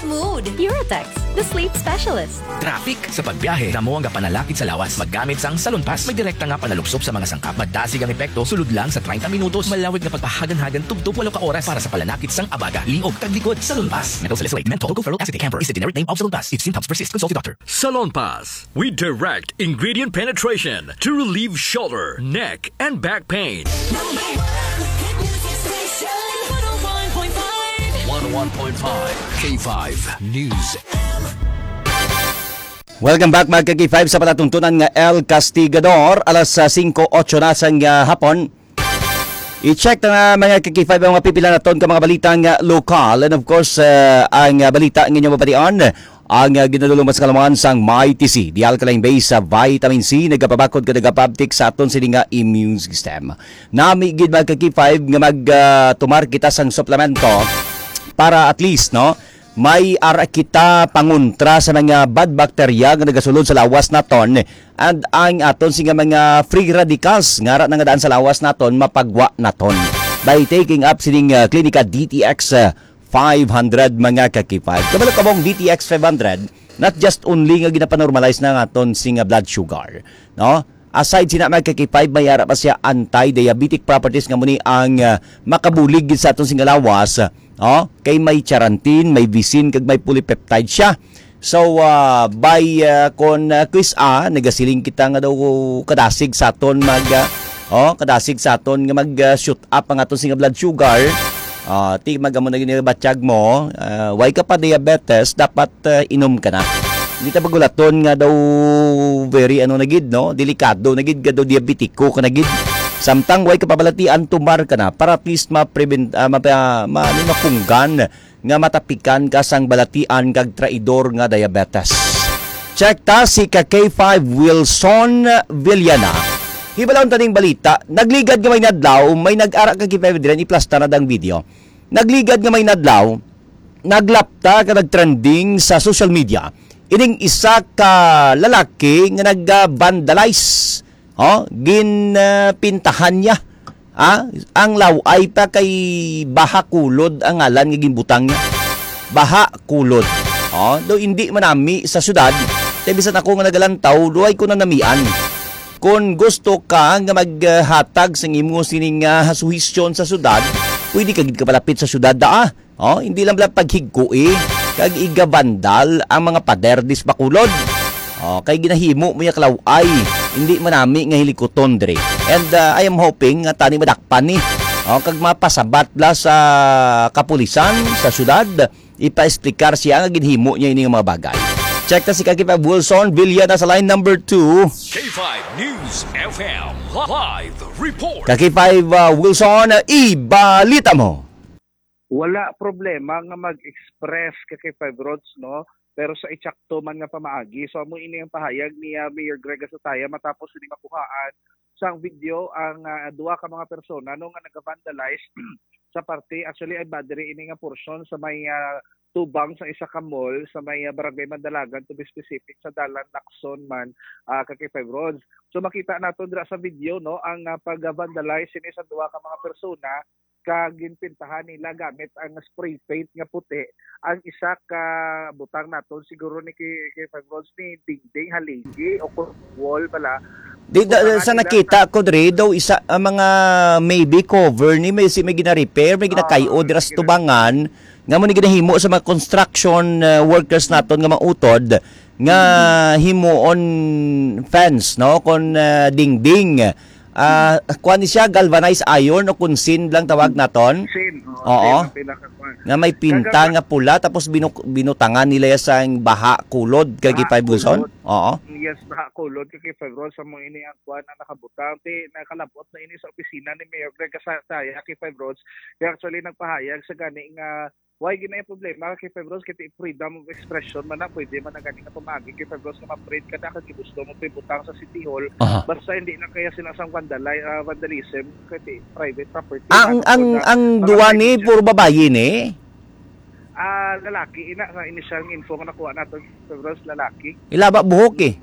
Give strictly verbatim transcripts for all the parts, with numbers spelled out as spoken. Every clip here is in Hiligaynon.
Mood. Eurotex, the sleep specialist. Traffic. Sa pagbiyahe, damo ang panalakit sa lawas. Maggamit sang Salon Pass. May direkta nga panalupsop sa mga sangkap. Madasig ang epekto, sulod lang sa treinta minutos. Malawig nga pagpahagan-hagan, tubtob walo ka oras para sa panalakit sang abaga, liog, kag likod. Salon Pass. Menthol salicylate, menthol, tocopherol acetate. Camphor is the generic name of Salon Pass. If symptoms persist, consult your doctor. Salon Pass. We direct ingredient penetration to relieve shoulder, neck, and back pain. Number one hit music station, one oh one point five. One oh one point five K five News. Welcome back, mga ka-K five, sa palatuntunan nga El Castigador. Alas, ah, singko otso na sang, ah, hapon. I-check na, mga ka-K five, ang mga pipila naton ka mga balita nga lokal. And of course, ah, ang, ah, balita nga inyo mabatian, ang, ah, ginadulong sa kalaman sang Mighty C, the alkaline base sa vitamin C, nagapabakod ka nagapabtik sa aton sini nga immune system. Nami gid, mga ka-K five, nga mag, ah, tumar kita sang suplemento para at least, no, may ara kita pangontra sa mga bad bacteria nga nagasulod sa lawas naton, and ang aton sini nga mga free radicals nga ara na nga daan sa lawas naton mapagwa naton by taking up sining, ah, Klinika D T X, ah, five hundred, mga ka-K five. Kabalo ka ba ang D T X five hundred, not just only nga ginapanormalize na ang aton sini nga blood sugar, no? Aside sina, mga ka-K five, may ara pa siya anti-diabetic properties nga muni ang, ah, makabulig gid sa aton sini nga lawas, oh, kay may charantin, may visin, kag may polypeptide siya. So, ah, by, ah, kon, ah, quiz a, nagasiling kita nga daw kadasig sa aton mag, ah, oh, kadasig sa aton nga mag, ah, shoot up ang aton sini nga blood sugar. Ah, ti magamo na gid batyag mo, ah, way ka pa diabetes, dapat, ah, inom ka na. Hindi ta pagulaton nga daw very ano na gid, no? Delikado na gid, nga daw diabetiko ka na gid. Samtang way ka pabalatian, tumar ka na para at least ma-prevent, ah, mapa-, ma-, ano, mapunggan nga matapikan ka sang balatian kag traidor nga diabetes. Check ta si ka K five Wilson Villana. Hibalon ta ning balita, nagligad nga may nadlaw, may nag-ara ka K five diri, iplastar na dang video. Nagligad nga may nadlaw, naglapta ka nagtrending sa social media ining isa ka lalaki nga nag-vandalize. Oh, ginpintahan niya. Ah, ang law-ay pa kay Baha Kulod ang ngalan nga ginbutang niya. Baha Kulod. Oh, do hindi manami sa syudad. Kay bisan ako nga nagalantaw, duay ko nanamian. Kon gusto ka nga maghatag sang imo sining, ah, suhestyon sa syudad, pwede ka gid kapalapit sa syudad, daa. Oh, hindi lang bala paghigkoi kag igabandal ang mga pader dis Bacolod. Oh, kay ginahimo mo ya kalaw-ay, hindi manami nga hilikuton diri. And, ah, I am hoping nga tani madakpan ni. Oh, kag mapasabat bala sa kapulisan sa syudad, ipaexplikar siya nga ginhimo niya ini nga mga bagay. Check ta si Kakipab Wilson Villa na sa line number two. K five News F M live report. Kakipab, ah, Wilson, ibalita mo. Wala problema nga mag-express ka kay Five Roads, no? Pero sa itsakto man nga pamaagi. So, amo ini ang pahayag ni, ah, Mayor Greg Asataya matapos ini makuhaan sang video ang, ah, duha ka mga persona, no, nga nag-vandalize sa parte, actually, ay ba diri ini nga portion sa may, ah, tubang sa isa ka mall sa may, ah, Barangay Mandalagan, to be specific, sa Dalan Lacson man, ah, kay Five Roads. So, makita nato dira sa video, no, ang, ah, pag-vandalize ini sa duha ka mga persona, ka ginpintahan nila gamit ang spray paint nga puti. Ang isa ka butang naton siguro ni kay, kay Five Roads ni dingding, haligi o kon wall pala. Di, da, Butang sa nila nakita sa ko diri daw isa ang mga maybe cover ni may si may gina-repair, may ginakay-o Ah, dira sa gina- tubangan nga mo ni ginahimo sa mga construction, uh, workers naton nga mautod nga himuon fence, no, kon, uh, dingding. Ah, kuan ni siya, galvanized iron o kunsin lang tawag naton. Sin, oo, Oo. Sin ang pinakakuan. Nga may pinta Kaga- nga pula, tapos binuk-, binutangan nila ya sang baha kulod kay Baha Gipay Bulson. Kulod. Oo. Yes, baha kulod kay Five Roads sa mo ini ang kuan ang nakabutang. Ti nakalabot na ini sa opisina ni Mayor Greg Kasataya kay Five Roads. Kaya actually nagpahayag sa gani nga why gina yung problema kay Five Roads kay ti freedom of expression man na pwede man na gani nga pamagi kay Five Roads nga ma-print ka na kag gusto mo pibutang sa City Hall. Aha. Basta hindi lang kaya sila sang vandali-, ah, vandalism kay ti private property Ang, man ang, ang ang mga duwa ni private puro babayi ni. Ah, lalaki, ina, sa initial nga info nga nakuha nato, Five Roads, lalaki. Ilaba buhok eh.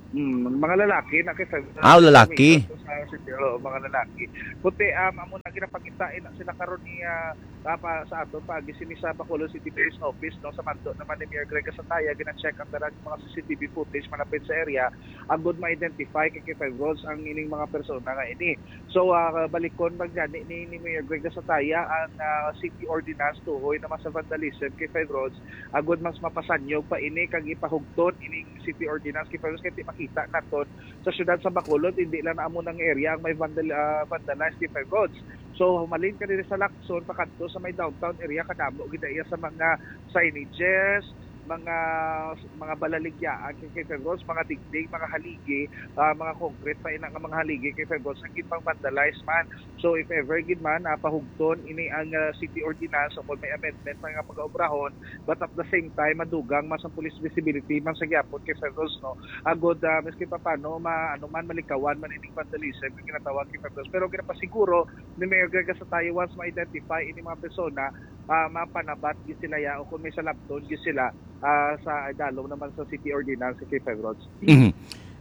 Hmm, mga lalaki na kay February. Ah, lalaki. Sa city, oo, mga lalaki. Puti, um, amo na ginapakita ina sila karon ni ah, ah, pa, sa ato pag sini sa Bacolod City Police Office, no, sa manto naman ni Mayor Greg Gasataya, gina-check ang tanang mga C C T V footage malapit sa area agod ma-identify kay K five Roads ang ining mga persona nga ini. So, ah, balikon man gani ni, ni Mayor Greg Gasataya ang ah, city ordinance tuhoy naman sa vandalism kay Five Roads agod mas mapasanyog pa ini kag ipahugton ining city ordinance kay Five Roads kay ti makita naton sa syudad sa Bacolod, hindi lang amo nang area ang may vandal, ah, vandalized kay Five Roads. So, humalin ka diri sa Lacson, pakadto sa may downtown area, kadamo gid iya sa mga signages, mga mga balaligyaan kay, kay Five Roads, mga dingding, mga haligi, ah, mga concrete pa ina nga mga haligi kay Five Roads ang ginpang-vandalize man. So if ever gid man ah, pahugton ini ang ah, city ordinance o kung may amendment pa nga pag-obrahon, but at the same time madugang mas ang police visibility man sa gyapon kay Five Roads, no, agod ah, maski pa paano ma, ano man malikawan man ining vandalism nga ginatawag kay Five Roads. Pero ginapasiguro ni Mayor Greg Gasataya, once ma-identify ini mga persona, ah, mapanabat gid sila ya o kung may salabton gid sila ah, sa dalom naman sa city ordinance kay Five Roads. Mhm.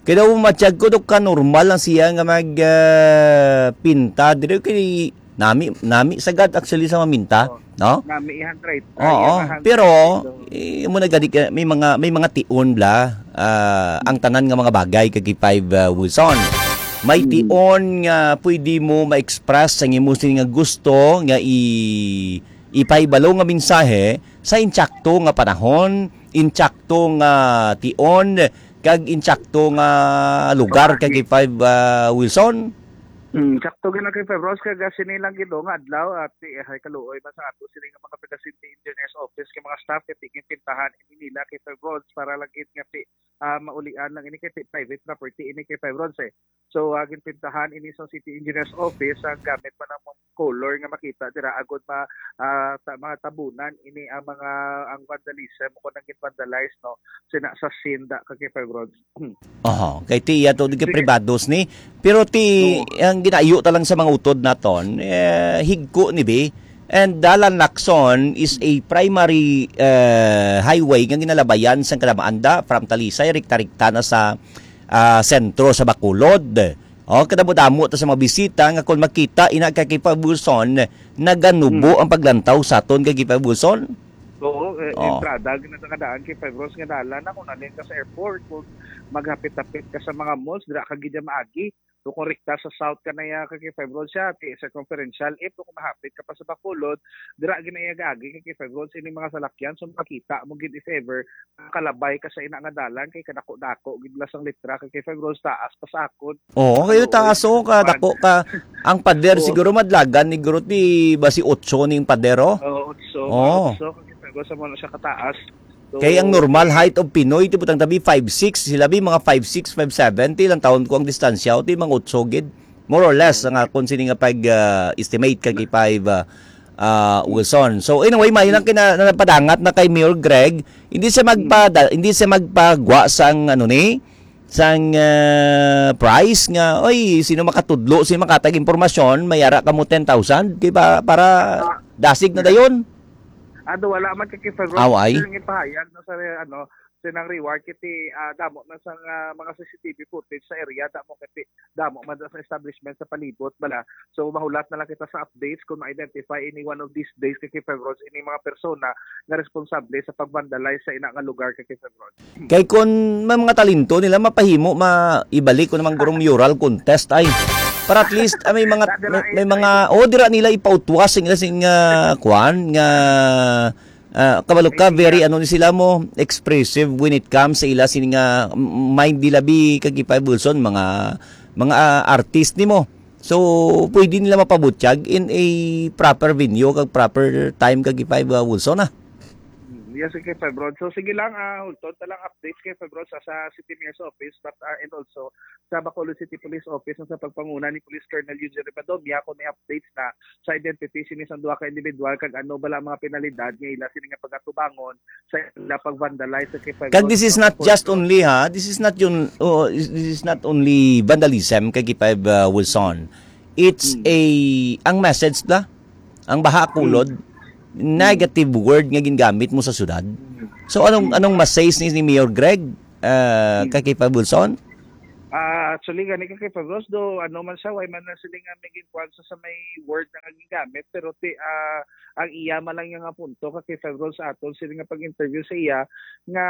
Kaya daw matyag ko, Dok, ka normal lang siya nga mag ah, pinta. Diri kay nami nami sagad actually sa maminta, Oh. no? Nami i-handwrite. Oo, Ay, pero i-handwrite. eh, mo na gani ka, may mga may mga tion bla ah, ang tanan nga mga bagay kag five ah, Wilson. May Mm. tion nga pwede mo ma-express ang imo sini nga gusto nga i ipahibalo nga mensahe sa insakto nga panahon, insakto nga tion, kag insakto nga lugar kag five ah, Wilson. Hmm, sakto gina kay Five Roads kag sini lang gid nga adlaw at eh, hay kaluoy man sa ato sini nga mga taga City Engineers Office kay mga staff kay tigin pintahan ini nila kay Five Roads para lang gid nga ti ah, maulian lang ini kay ti private property ini kay Five Roads eh. So, ah, ginpintahan ini sa City Engineers Office ang gamit pa ng mga color nga makita dira agod ma ah, ta, mga tabunan ini ang mga ang vandalism o kung nang vandalize no sina sa sinda kag kay Five Roads. Oho, kay ti iya to di kay Sige. Privados ni. Pero ti Oo. ang ginaiyo ta lang sa mga utod naton, eh, higko ni bi. And Dalan Lacson is a primary eh, highway nga ginalabayan sang Calamba Anda from Talisay rekta-rekta na sa ah, sentro sa Bacolod. Oh, kadamo-damo ta sa mga bisita nga kung makita ina kay Kipa Wilson naganubo Hmm. ang paglantaw sa aton kay Kipa Wilson. Oo, eh, Oh. entrada ginatangandaan kay Five Roads nga dalan na kung nalin ka sa airport, kung maghapit-hapit ka sa mga malls, dira ka gid maagi. So, kung rekta sa south ka na ya kay Five Roads siya, ti circumferential, if kung mahapit ka pa sa Bacolod, dira ginayagagi kay Five Roads ini mga salakyan, so makita mo gid if ever kalabay ka sa ina nga dalan kay kadako-dako gid la sang litra kay Five Roads taas pa sa akon. Oo, kayo Oo, taas oh, ka dako ka. Ang pader Oo. Siguro madlagan ni Guro ti basi otso ning pader oh. Oo, otso, Oo. otso, kay Five Roads sa mo na siya kataas. So, Kay ang normal height of Pinoy ti butang tabi five six, sila bi mga five six, five seven ti lang taon ko ang distansya o ti mga otso gid. More or less ang akon sini nga pag ah, estimate kag five ah, ah, Wilson. So anyway, may lang kina napadangat na kay Mayor Greg, hindi siya magpa hindi siya magpagwa sang ano ni sang ah, price nga oy sino makatudlo sino makatag impormasyon may ara kamo ten thousand di ba para dasig na dayon. Ado wala man kay Five Roads. Aw, ay. Ang ipahayag no sa ano sinang reward kiti ah, damo na sa ah, mga C C T V footage sa area, damo kiti damo man sa establishment sa palibot bala. So mahulat na lang kita sa updates kung ma-identify ini one of these days kay Five Roads ini mga persona nga responsable sa pag-vandalize sa ina nga lugar kay Five Roads. Kay kun may mga talento nila mapahimo ma ibalik ko naman gurong mural contest ay para at least ah, may mga may, may mga oh dira nila ipautwas sing ila sing ah, kwan nga ah, kabalo ka very ano ni sila mo expressive when it comes sa ila sini nga m- mind nila bi kag Ipay Wilson mga mga ah, artist nimo. So pwede nila mapabutyag in a proper venue kag proper time kag Ipay Wilson ah. Mm, yes, kay Febron. So sige lang, ah, ulton ta lang updates kay Febron sa, sa City Mayor's Office, but ah, and also sa Bacolod City Police Office sa pagpanguna ni Police Colonel Eugene Rivadovia kung may updates na sa identity sini sa duha ka individual kag ano bala ang mga penalidad nga ila sini nga pagatubangon sa ila pag-vandalize sa kay Febron. Kag this is not just only ha, this is not yun oh, this is not only vandalism kag Ipay uh, Wilson. It's Hmm. a ang message na ang baha kulod negative word nga gingamit mo sa syudad. So anong anong message ni, ni Mayor Greg uh, kag Ipay Wilson? Ah, actually, gani ka kay Fabros, do ano man siya, why man na sila nga may ginkuwan sa, sa may word na nga gigamit, pero ti, ah, ang iya man lang nga punto ka kay Fabros aton sila nga pag-interview sa iya nga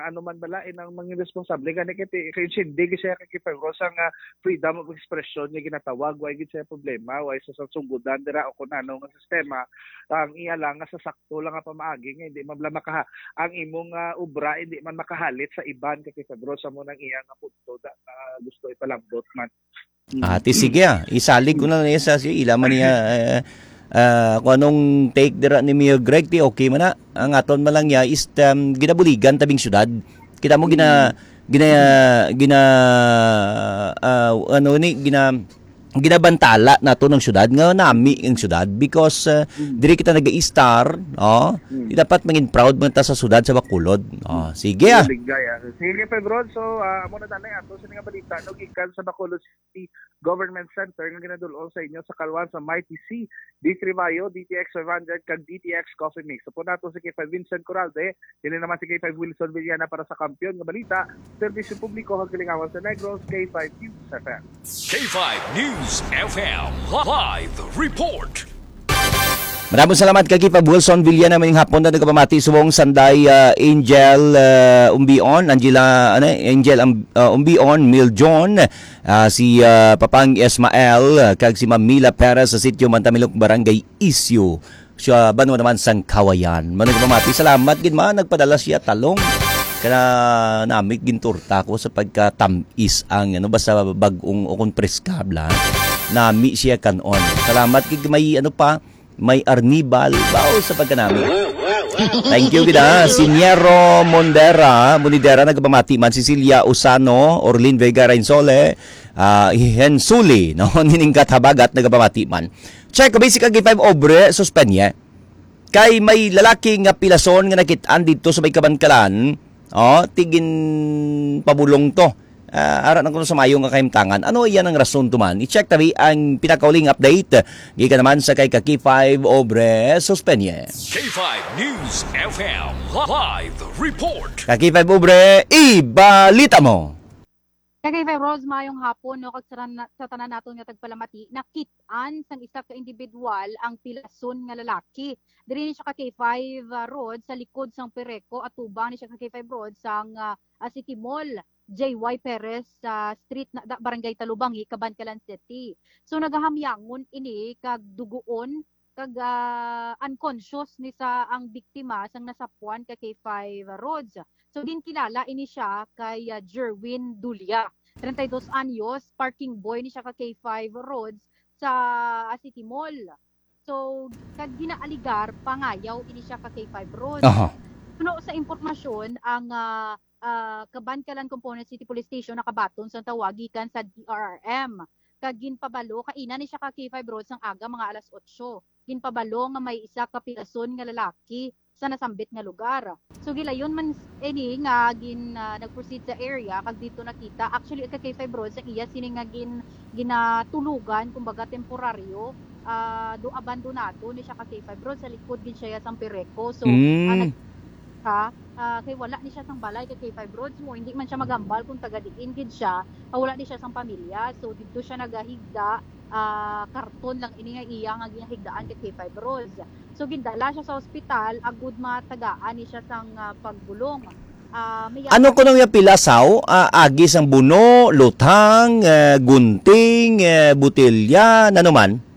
ano man bala inang mga responsable gani kay ti, kay sindi siya kay Fabros ang ah, freedom of expression nga ginatawag, why gid siya problema, why sa sangsugudan dira o kung ano nga sistema, ang iya lang nga sa sakto lang nga pamaagi nga hindi man bala makaha, ang imong ah, obra hindi man makahalit sa iban kay Fabros sa mo nang iya nga punto da, ah, gusto ipalambot man. Mm. Ah, ti sige ah. Isalig ko na lang sa si ila man niya eh, ah, kung anong take dira ni Mayor Greg, ti okay man na. Ang aton man lang niya is um, ginabuligan tabing syudad. Kita mo gina gina gina ah, ano ni gina ginabantala nato ng syudad nga nami ang syudad because uh, diri kita nag-i-star, oh, dapat mangin proud man ta sa syudad sa Bacolod. Oh, sige ah. Ligaya. Sige, Febron. So, ah, amo na tanay ato sa mga balita no gikan sa Bacolod City Government Center nga ginadul-ong sa inyo sa kalwan sa Mighty C, D three Bayo, D T X five hundred, kag D T X Coffee Mix. Sa po nato si K five Vincent Coralde, kini naman si K five Wilson Villana para sa Kampiyon nga Balita, Serbisyo Publiko, Hagkalingawan sa Negros, K five News F M. K five News F M live report. Maraming salamat kay Kipa Wilson Villana, maning hapon na nagpamati subong Sanday, ah, Angel, ah, Umbion, Angela, ano, Angel Am- uh, Umbion, Mil John, uh, si uh, Papang Ismael, uh, kag si Ma'am Mila Perez sa sitio Mantamilok, Barangay Isyu, sa banwa naman sang Kawayan. Manong pamati, salamat gid ma, nagpadala siya talong. Kana nami ginturta ko sa pagkatamis ang ano basta bag-ong o kung preska bla. Nami siya kanon. Salamat gid may ano pa may Arnibal, bao sa pagkanami. Thank you gid ha. Si Niero Mondera, Monidera, nagpamati man. Cecilia Usano, Orlin Vega Rainsole, ah, Hensuli, no? Nining Kathabagat, nagpamati man. Check, basic agi five obre, suspenye. Kay may lalaki nga pilason nga nakit-an dito sa may Kabankalan, oh, tigin pabulong to. Ah, ara na kuno sa mayo nga kahimtangan. Ano iyan ang rason to man? I-check tabi ang pinakauling update gikan naman sa kay Kaki five Obre Suspenye. K five News F M live report. Kaki five Obre, ibalita mo. Kaki five Rose, mayong hapon, no, kag sa, sa tanan naton nga tagpalamati, nakit-an sang isa ka individual ang pilason nga lalaki. Diri ni siya ka K five, ah, Road sa likod sang Pereco, atubang ni siya ka K five Road sang, ah, ah, City Mall. J Y Perez sa street na da, Barangay Talubangi, Kabankalan City. So nagahamyangon ini kag duguon kag ah, unconscious ni sa ang biktima sang nasapuan ka K five Roads. So ginkilala ini siya kay ah, Jerwin Dulia, treinta y dos anyos, parking boy ni siya ka K five Roads sa ah, City Mall. So kag ginaaligar pangayaw ini siya ka K five Roads. Aha. Puno sa impormasyon ang ah, ah, Kabankalan Component City Police Station nakabaton sang tawag gikan sa D R R M. Kag ginpabalo, kaina ni siya ka K five Road sang aga, mga alas otso. Ginpabalo nga may isa ka pilason nga lalaki sa nasambit nga lugar. So gilayon man s- ini nga gin ah, nag-proceed sa area kag dito nakita, actually ka K five Road sang iya sini nga gin ginatulugan, kumbaga temporaryo, ah, do abandonado ni siya ka K five Road, sa likod gid siya sang Pereco. So ah, Mm. nag- ha, ah, kay wala ni siya sang balay kay K five Roads mo, hindi man siya magambal kung taga diin gid siya, ah, wala ni siya sang pamilya. So didto siya nagahigda, ah, karton lang ini nga iya nga ginahigdaan kay K five Roads. So gindala siya sa ospital agud matagaan ni siya sang ah, pagbulong. Ah, may Ano kuno nga pilasaw? Ah, agi sang buno, luthang, eh, gunting, eh, botelya, nano man?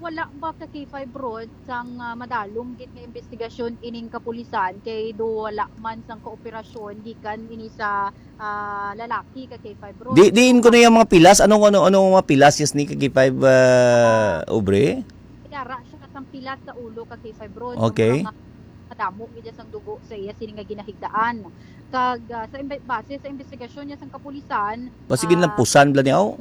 Wala ba ka K five Road sang ah, madalom gid nga investigasyon ining kapulisan kay do wala man sang kooperasyon gikan ini sa ah, lalaki ka K five Road. Di diin ko na yung mga pilas. Anong ano ano mga pilas yes ni kay five uh, obre? Yara siya sang pilas sa ulo ka K five Road. Okay. Ang mga kadamo gid sang dugo sa iya sini nga ginahigdaan. Kag ah, sa imbe- base sa investigasyon niya sang kapulisan, Pasig ah, ginlampusan bla niya, oh.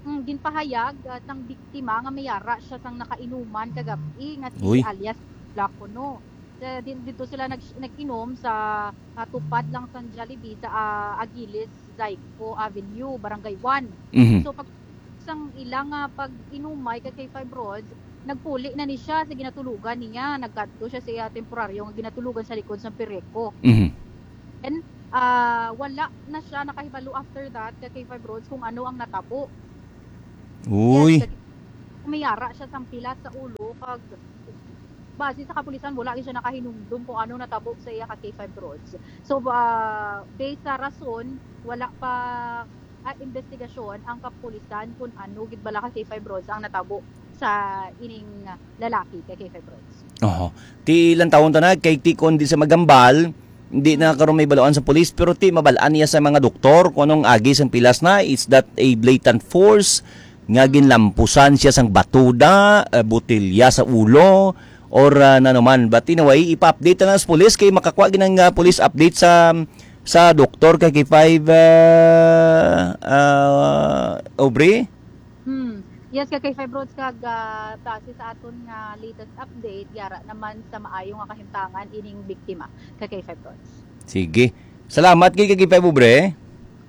Hmm, ginpahayag ah, sang biktima nga mayara siya sang nakainuman kagabi nga si Uy. Alias Blacono. Sa din dito sila nag nag-inom sa ah, tupad lang sa Jollibee sa ah, Agilis Zyco Avenue, Barangay one. Mhm. So pag sang ilang ah, pag-inumay ka kay Five Roads, nagpuli na ni siya sa ginatulugan niya. Nagkadto siya sa iya temporaryo nga ginatulugan sa likod sa Pireco. Mhm. And Ah, wala na siya nakahibalo after that, ka K five Rods, kung ano ang natabo. Uy. Yes, kag-, may ara siya sang pilas sa ulo, kag base sa kapulisan, wala gyud siya nakahinumdom kung ano natabo sa iya, ka K five Rods. So, ah, based sa rason, wala pa, ah, investigasyon ang kapulisan kung ano gid bala, ka K five Rods, ang natabo sa ining lalaki, ka K five Rods. Oho. Ti lantawon ta na, kay ti kon di sa magambal, hindi na karon may baluan sa pulis, pero ti mabalaan niya sa mga doktor kung anong agi sang pilas na. Is that a blatant force nga ginlampusan siya sang batuda, eh, botelya sa ulo, or, ah, nanuman? But anyway, ipa-update na lang sa pulis kay makakuha ginang, ah, police update sa, sa doktor, ka K five, ah, ah, Aubrey? Hmm. Yes, ka K five Rods, kag, ah, base sa aton nga latest update, yara naman sa maayo nga kahimtangan ining biktima, ka K five Rods. Sige. Salamat kay ka K five, Aubrey.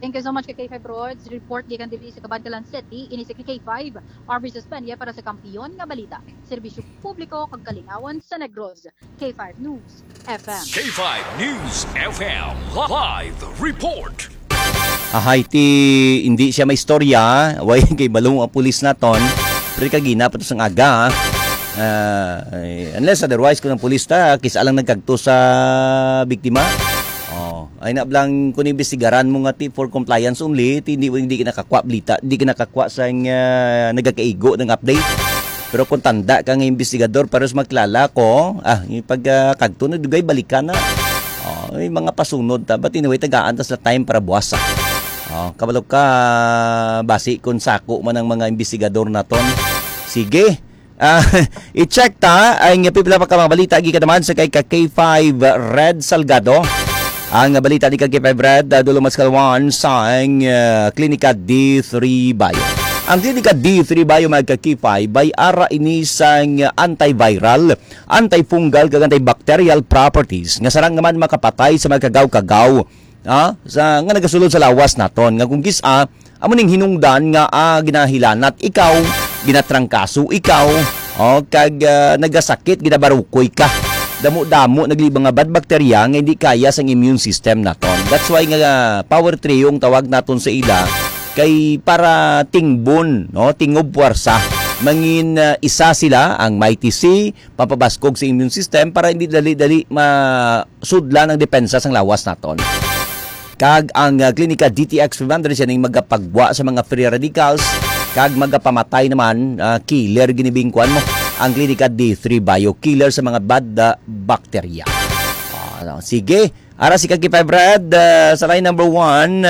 Thank you so much, ka K five Rods. Report gikan diri sa Kabankalan City, ini si ka K five, Aubrey Suspendia para sa Kampiyon nga Balita, Serbisyo Publiko kag Kalingawan sa Negros. K five News F M. K five News F M live report. Ahay, ti hindi siya may istorya, way kay balong ang pulis naton. Pero kagina pa to sang aga, ah, eh, unless otherwise, kung ang pulis ta, kisa lang nagkagto sa biktima. Oh, ay na blang kung imbestigaran mo nga ti for compliance only, ti hindi, hindi ka nakakwa balita, hindi ka nakakwa sa, ah, nagakaigo ng update. Pero kung tanda ka nga investigador, pares magkilala ko, ah, yung pag, ah, kagto na dugay, balikan na. Oh, may mga pasunod ta. But anyway, tagaan ta sa time para buwas, ah. Oh, kabalo ka, basi kung sako man ang mga investigador naton. Sige. Ah, i-check ta ang pipila pa ka mga balita gikan naman sa kay ka K five Red Salgado. Ang balita ni ka K five Red, ah, dulong mas kalwan sa ang, ah, Klinika D three Bio. Ang Klinika D three Bio, mga ka K five, may ara ini sang antiviral, antifungal, kag antibacterial properties nga sarang naman makapatay sa mga kagaw-kagaw, ah, sa, nga nagasulod sa lawas naton, nga kung kis-a, amo ning hinungdan nga, ah, ginahilanat ikaw, ginatrangkaso ikaw, oh, kag, ah, nagasakit, ginabarukoy ka. Damo-damo naglibang nga bad bakterya nga hindi kaya sang immune system naton. That's why nga, ah, power trio ang tawag naton sa ila, kay para tingbon, no, tingob puwersa. Mangin, ah, isa sila, ang Mighty C, papabaskog sa immune system para hindi dali-dali masudlan ang depensa sang lawas naton. Kag ang, ah, Klinika D T X five hundred siya ning magapagwa sa mga free radicals, kag magapamatay naman, ah, killer ginibingkuan mo. Ang Klinika D three Bio, killer sa mga bad, ah, bakterya. Ah, sige. Ara si Kaki Five Red, ah, sa line number one,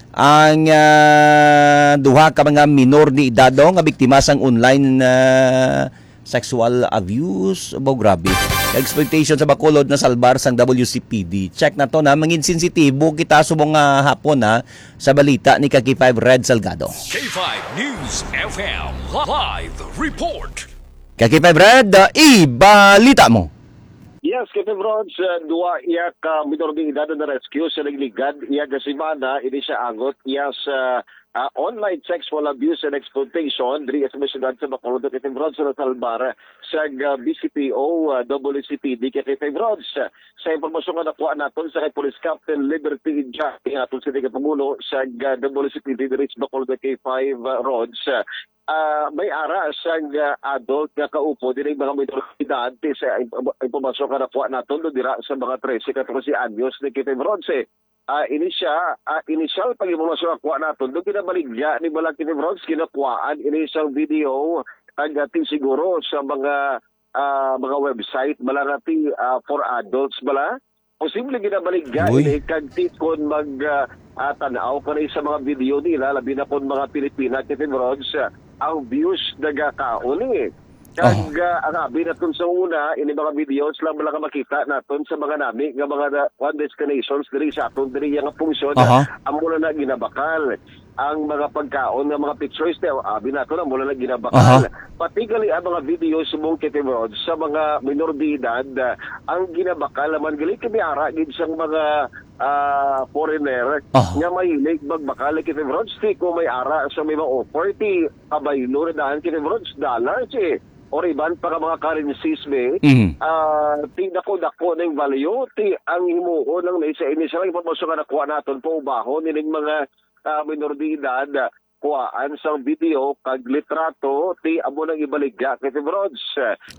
ang, ah, duha ka mga minor de edad, oh, nga biktima sang online, ah, sexual abuse. Abo, grabe. Exploitation sa Bacolod na salbar sang W C P D. Check na to na, mangin sensitibo kita subong nga hapon, ha, sa balita ni Kaki Five Red Salgado. K five News F M live report. Kaki Five Red, ah, ibalita mo. Yes, Kaki Five Red, sa duha iya ka minor de edad na rescue sa nagligad iya ka semana, ini siya angot iya sa ah, online sexual abuse and exploitation diri sa may siyudad sa Bacolod, Kaki Five Red, sa nasalbar sa, ah, B C P O, ah, W C P D, Kaki Five Red. Sa impormasyon nga nakuha naton sa kay Police Captain Liberty Ijay, aton sini ka pangulo sa, ah, W C P D diri sa Bacolod, Kaki Five Red. Ah, may ara sang, ah, adult nga kaupo diri, mga minor de edad, sa imp-, impormasyon nga nakuha naton do dira sa mga trese, katorse anyos ni Kaki Five Red. Ah, ini siya, ah, initial pag-impormasyon nga kuha naton, do ginabaligya ni bala Kaki Five Red, ginakuhaan ini sang video, ang atin siguro sa mga, ah, mga website bala nga ti, ah, for adults bala. Posible ginabaligya Uy. ini kag ti kon mag, ah, ah, tan-aw ka na sa mga video nila, labi na kon mga Pilipina, Kaki Five Red, ah, ang views nagakaon ni. Kag, Oh. ah, ang abi naton sa una, ini mga videos lang lang makita naton sa mga nami nga mga na, one destinations diri sa aton diri nga function, Aha. amo na na ginabakal. Ang mga pagkaon nga mga pictures, te, abi naton, amo na na ginabakal. Aha. Pati gali ang mga videos subong Kaki Five Red sa mga minor de edad, ah, ang ginabakal naman gali kay may ara gid sang mga, ah, foreigner Aha. nga mahilig magbakal, Kaki Five Red, ti ko may ara sa may mga offer, ti kabaylo na daan, Kaki Five Red, dollars, eh. or iban pa nga mga currencies, be, Mhm. ah, ti dako-dako ning value, ti ang himuon lang ni sa initial nga impormasyon nga nakuha naton, paubahon nining mga, ah, minor de edad, ah, kuhaan sang video kag litrato, ti amo nang ibaligya kay Fibrods.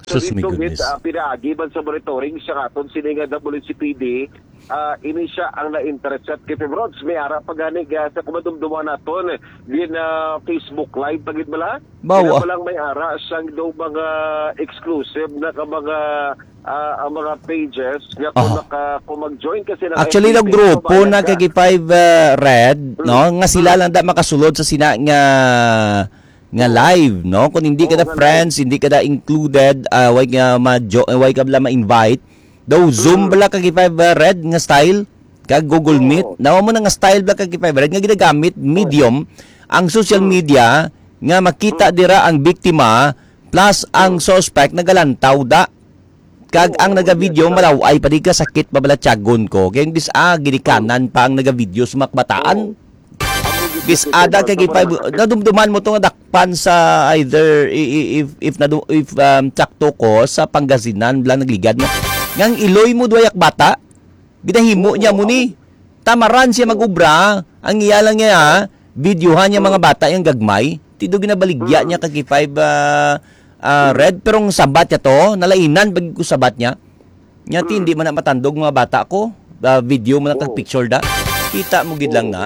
So, Sus, mi dito gid, goodness. ah, pinaagi man sa monitoring sa aton sini nga W C P D, ah, ini siya ang na-intercept kay Fibrods. May ara pa gani, ah, sa kumadumduman naton, gin, ah, Facebook Live pa gid bala? Bawa. Kaya pa lang may ara sang daw mga exclusive na ka mga, ah, ang mga pages nga kung Aha. naka-, kung mag-join ka sila Actually, kay daw Facebook, grupo na maganda. Kay Five, ah, Red, Mm. no? Nga sila Mm. lang da makasulod sa sina nga, nga live, no? Kung hindi ka Oo, na nga friends, live. Hindi ka na included, ah, way nga ma-jo-, way ka bala ma-invite, daw Zoom Mm. bala kay Five, ah, Red nga style, kag Google Oo. Meet. Nawa mo na nga style bala kay Five Red nga ginagamit, Oo. medium, ang social Mm. media nga makita Mm. dira ang biktima plus ang Mm. suspect nagalantaw da. Kag Oo, ang nagavideo, yes, sir. Malaw-ay pa di ka sakit pa bala tiyagon ko. Kay bis, ah, ginikanan pa ang nagavideo sa mga kabataan. Oo. Bis ada kay Sa gipay, mga sakit. Nadumduman mo to nga dakpan sa either i-, i-, if, if nadu-, if, um, tsakto ko sa Pangasinan, bala nagligad mo. Ngang iloy mo duwa yak bata, ginahimo Oo, niya mo ni. Amo. Tamaran siya Oo. mag-ubra, ang iya lang niya, ha? Videohan niya mga Oo. bata yung gagmay. Tido ginabaligya Mm. niya kag five, ah, ah, Mm. red, pero ang sabat niya to, nalainan pag ko sabat niya. Nya, ti, Mm. hindi man na matandog mga bata ko. Ah, video mo lang kag Oo. picture da. Kita mo gid lang Oo. na.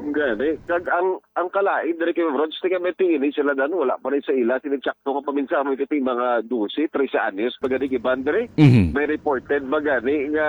Gani. Kag ang, ang kalain diri kay Rods, ti kami ti ini sila dan, wala pa rin sa ila, sila tsakto nga paminsa mo kiti mga dose, trese anyos, pa gani, Iban, diri. Mhm. May reported ba gani nga,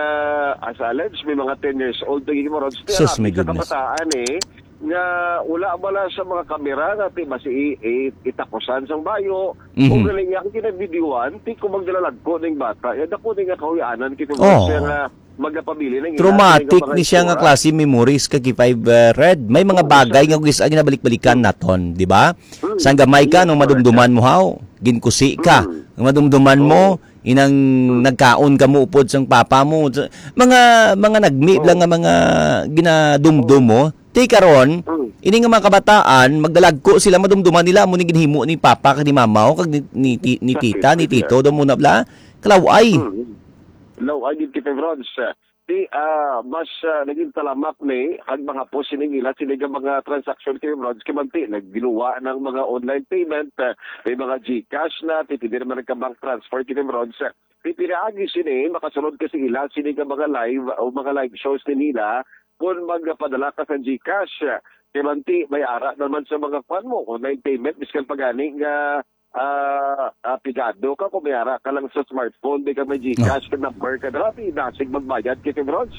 as alleged, may mga ten years old, ti, Rods, ti, Sus, ang may sa goodness. kabataan, eh, nga wala bala sa mga kamera nga ti basi i-, i-, itakusan sang bayo. Mhm. O galing nga, ang kinabidyoan, ti kung magdalalagko ning bata, ya dako ni nga kahuyanan, kay kung Oh. siya nga magapabili ng Traumatic ila, ni siya nga mga klase memories kag five, uh, Red. May mga Oo, bagay sir. nga kung isa ginabalik-balikan naton, di ba? Mm. Sang gamay ka, Yes, nung correct, madumduman sir. mo, haw, ginkusi ka. Mm. Nung madumduman mo, Oo. inang Mm. nagkaon ka mo upod sang papa mo. Mga, mga nagmi Oo. lang nga mga ginadumdum Oo. mo. Ti karon, Mm. ini nga mga kabataan, magdalagko sila, madumduman nila amo ni ginhimo ni papa kag ni mama, o kag ni, ni ti-, ni Sa tita, ni tita. tito, daw muna bla. Kalaw-ay. Mm. Law-ay gid kita, Rods. Ti, ah, mas, ah, naging talamak ni ang mga po sining ila, sining nga mga transaksyon kay Rods, kay magti, nagginuwa ng mga online payment, ah, may mga GCash na, ti pwede naman nagka-bank transfer kay Rods. Ti pinaagi sini, makasulod kasi ila, sining nga mga live o mga live shows ni nila, kung magpadala ka sa GCash, kay manti, may ara naman sa mga kwan mo, online payment, biskan pa gani nga ah, ah, pigado ka kung may ara ka lang sa smartphone, di ka may GCash, Oh. ka number ka dala, ti dasig magbayad kay Fibrods.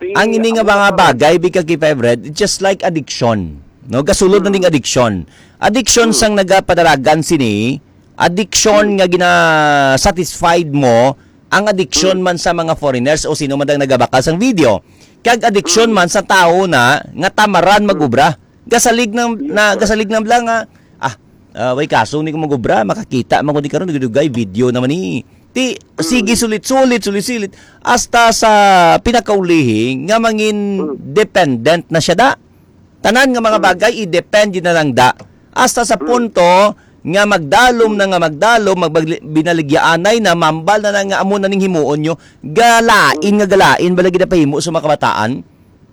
Ti Ang ini nga amo mga na karon. bagay, bika kay Fibrods, it's just like addiction. No, gasulod na Hmm. ning addiction. Addiction Hmm. sang nagapadalagan sini, addiction Hmm. nga gina-satisfied mo, ang addiction Hmm. man sa mga foreigners o sino man ang nagabakal sang video. Kag addiction Hmm. man sa tawo na nga tamaran Hmm. mag-ubra. Gasalig nang, Yes, na, sir. gasalig nang bla nga, ah, ah, way kaso ni ko mag-ubra, makakita man ko di karon, dugay-dugay, video naman ni. Ti, Mm. sige, sulit-sulit, sulit-sulit. Hasta sa pinakaulihi nga mangin Mm. dependent na siya da. Tanan nga mga Mm. bagay, i-depend yun na lang da. Hasta sa Mm. punto nga magdalom na nga magdalom, magbagli-, binaligyaanay na, mambal na na nga amo na ning himuon nyo, galain Mm. nga galain, bala gid ang pahimo sa mga kabataan.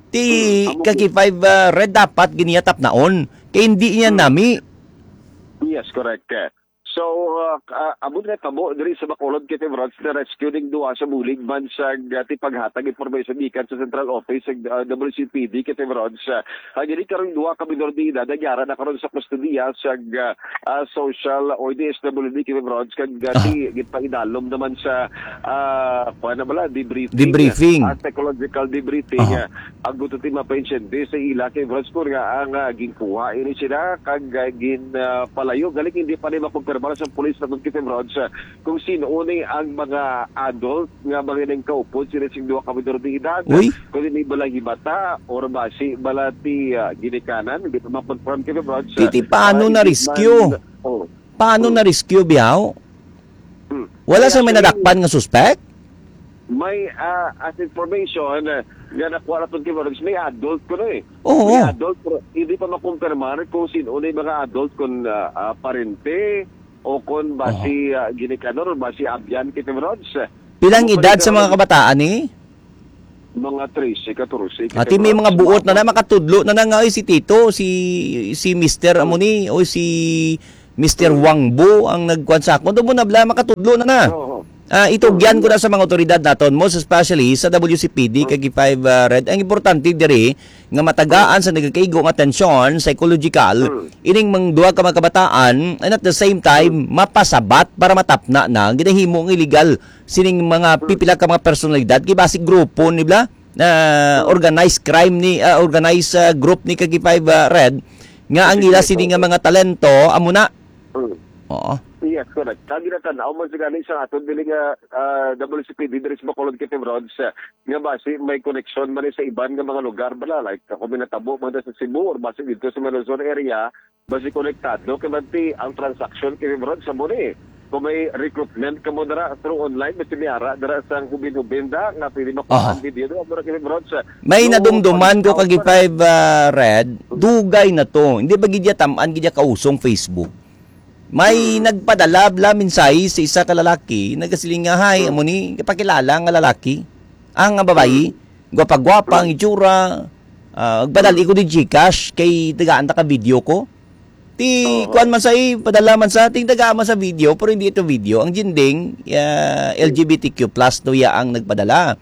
Ti Mm, amo kaki gid. five, ah, red dapat giniyatap naon. Kay hindi niya Mm. nami. Yes, correct. So, uh, uh, abot nga tabo diri sa Bacolod, Kevin Rods, na rescue ning duha sa bulig man sa, uh, ti paghatag information gikan sa Central Office sa, uh, W C P D, Kevin Rods. Uh, ang ini karong duha ka minor de edad, nagyara na karon sa kustodiya sa, uh, uh, social or D S W D, Kevin Rods, kag, uh, Ah. ti, gipahidalom naman sa, uh, kuha na bala, debriefing. Debriefing. Uh, psychological debriefing. Ah. Uh, Ang gusto ti mapainsyente sa ila kay Brad Score nga ang, ah, ginkuha ini sila kag, ah, gin, ah, palayo. Galing hindi pa ni makumpirmar sa pulis na kung Kevin Rods, ah, kung sino ni ang mga adult nga mga nang kaupod sila sing duha ka minor de edad. Uy. Kung hindi bala himata or basi bala ti, ah, ginikanan, hindi pa makonfirm Kevin Rods, ah, Titi, paano ah, na hindi rescue? man, oh. Paano Hmm. na rescue, biyaw? Hmm. Wala Kaya sa may actually, nadakpan nga suspect? May, ah, as information, ah, nga nakuha naton kay Morales, may adult kuno eh. Oo. May adult, pero hindi pa makumpirmar kung sino na yung mga adult, kung, ah, ah, parente, O kon basi, ah, ginikanan or basi abyan, Kevin Rods. Pilang edad sa mga kabataan ni? Mga trese, katorse, Ati may mga buot na na, makatudlo na na nga, "Oy, si Tito, si, si Mister amo ni, o si Mister Wang Bu ang nagkuan sa akon." Tubo na bala, makatudlo na na. Oo. Ah, itugyan ko na sa mga otoridad naton, most especially sa W C P D, kag five, ah, Red. Ang importante diri, nga matagaan sa nagakaigo nga tensyon, psychological, ining mga duha ka mga kabataan, and at the same time, mapasabat para matapna na ang ginahimo nga illegal sining mga pipila ka mga personalidad, kay basi grupo ni bala, ah, organized crime ni, ah, organized, ah, group ni Kagi Five, ah, Red, nga ang ila sini nga mga talento, amo na. Mm. Oo. Yes, correct. Kag ginatanaw man sa gani sa aton dili nga, ah, W C P D diri sa Bacolod, Kevin Rods, ah, nga basi may koneksyon man ni sa iban nga mga lugar bala, like, kung may natabo man sa Cebu or basi dito sa Maluzon area, basi konektado kay bati ang transaction, Kevin Rods, sa mo ni. Kung may recruitment ka mo dira through online, basi may ara dira sa hubin-hubin da nga pwede makuha ang video do, amo ra, Kevin Rods, ah, May no nadumduman ko kag five, ah, Red, dugay na to. Hindi ba gid ya tam-an gid ya kausong Facebook? May nagpadala bala mensahe sa isa ka lalaki, nagasiling nga, "Hi, amo ni, kapakilala nga lalaki." Ang nga babayi, gwapa-gwapa ang itsura. Ah, padali ko di GCash kay tagaan ta ka video ko. Ti kuan man sa, eh, padala man sa, ting taga man sa video, pero hindi ito video. Ang ginding, ah, L G B T Q plus to ya ang nagpadala.